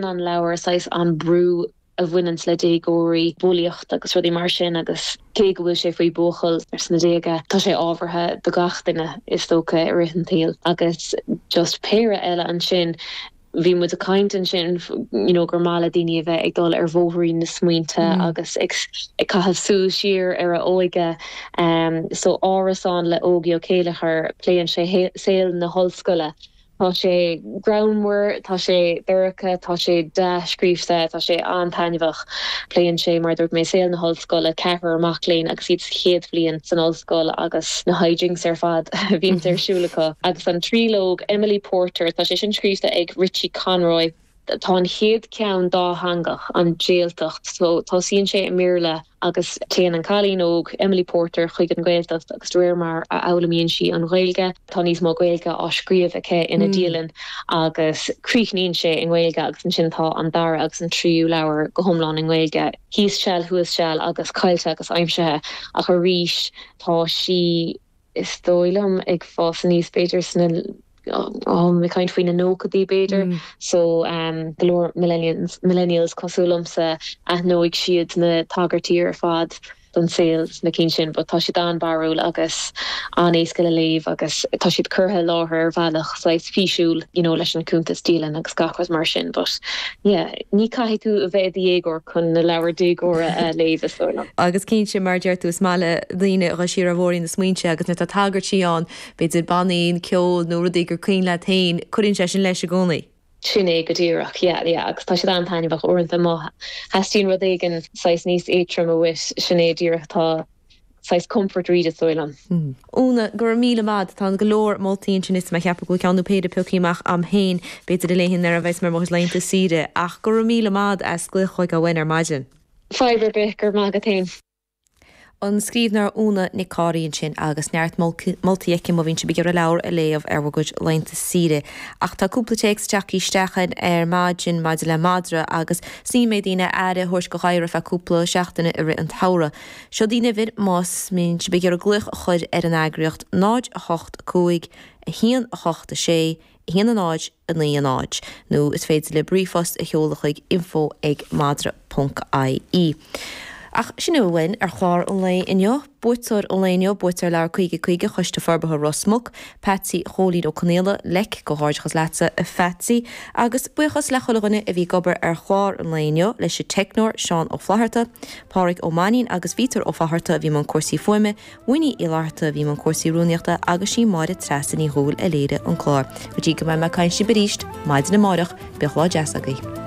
An leabhar, saghas an brú a bhaineanns le déagóirí, bulaíocht agus rudaí mar sin agus cé go bhfuil sé faoi buachaill sna déaga, tá sé ábhartha do gach duine is dócha i rith an tsaoil. Agus just péire eile ansin, bhí muid ag caint ansin you know gur maith le daoine a bheith ag dul ar bhóithrín na smaointe agus ag ag caitheamh súil siar ar a óige. So Árasán le Ógie Ó Céilleachair, pléann sé saol na hollscoile. Tá sé greannmhar, tá sé dorcha, tá sé dea-scríofa, tá sé an-taitneamhach. Pléann sé, mar a dúirt mé, saol na hollscoile, ceathrar mac léinn agus iad sa chéad bhliain san ollscoil agus na hijinks ar fad a bhíonns ar siúl acu. Agus an tríológ, Emily Porter, tá sé sin scríofa ag Richie Conroy. Tá an chéad cheann dátheangach, An Jailtacht, so tosaíonn sé i mBéarla agus téann an cailín óg, Emily Porter, chuig an Ghaeltacht agus de réir mar a fhoghlaimíonn sí an Ghaeilge, tá níos mó Gaeilge á scríobh aici ina dialann agus críochnaíonn sé i nGaeilge agus ansin tá an dara agus an tríú leabhar go hiomlán i nGaeilge, Thíos Seal Thuas Seal agus Caillte agus Aimsithe ach arís tá sí. is dóigh liom, ag fás aníos b'fhéidir sna, ag caint faoi na nóchaidí b'fhéidir, so go leor millennials cosúil liomsa, aithneoidh siad na tagairtí ar fad don saol sna cinn sin but tá siad an-bharrúil agus an-éasca le léamh agus tá siad curtha i láthair ar bhealach saghas físiúil you know leis an cuntas dialann agus gach rud mar sin but yeah ní caithfidh tú a bheith i do dhéagóir chun na leabhair déagóra a léamh is dóigh liom. Agus cinnte, mar a deir tú, is maith le daoine a dhul siar ar bhóithrín na smaointe agus nuair atá tagairtí ann, b'fhéidir bannaí, ceol nó rudaí gur cuimhin leat féin, cuireann sé sin leis i gcónaí. Sin é go díreach, yeah, yeah, agus tá siad an-taitneamhach uaireanta má theastaíonn rud éigin saghas níos éadtroime uait, sin é díreach atá saghas comfort read is dóigh liom. Úna, go raibh míle maith. Tá go leor moltaí ansin is mé ag ceapadh go bhfuil ceann nó péire pioctha amach a'm féin, b'fhéidir a léifinn nuair a bheas mé ar mo chuid laethanta saoire. Ach go raibh míle maith as glaoch chuig againn ar maidin. Fadhb ar bith, go raibh maith agat féin. An scríbhneoir Úna Nic Cárthaigh ansin agus neart moltaí aici má bhíonn sibh ag iarraidh leabhar a léamh ar bhur gcuid laethanta saoire. Ach tá cúpla téacs tagtha isteach ar maidin maidir le madra agus is ní mbeidh daoine aire a thabhairt do ghadhra feadh cúpla seachtaine i rith an tsamhraidh. Seo í an uimhir más mbíonn sibh ag iarraidh glaoch a chur ar an eagraíocht, 0 8 5 1 8 6 1 0 9 0, nó is féidir libh ríomhphost a sheoladh chuig info ag madra ponc ie. Ach sin é uainn ar chlár an lae inniu. Buaiteoir an lae inniu, buaiteoir leabhar 50 50 Choiste Forbartha Ros Muc, Patsy Chóilín Ó Conaola, Leic, Comhghairdeachas leatsa a Phatsy. Agus buíochas le chuile dhuine a bhí ag obair ar chlár an lae inniu, leis an teicneoir Seán Ó Flatharta, Pádhraic Ó Mainnín agus Vítear Ó Fátharta a bhí i mbun cúrsaí fuaime, Winnie Uí Fhlatharta a bhí i mbun cúrsaí rúnaíochta agus sí Máire Treasa Ní Dhubhghaill a léirigh an clár. Go dtí go mbeidh mé ag caint libh arís maidin amárach, bíodh lá deas agaibh.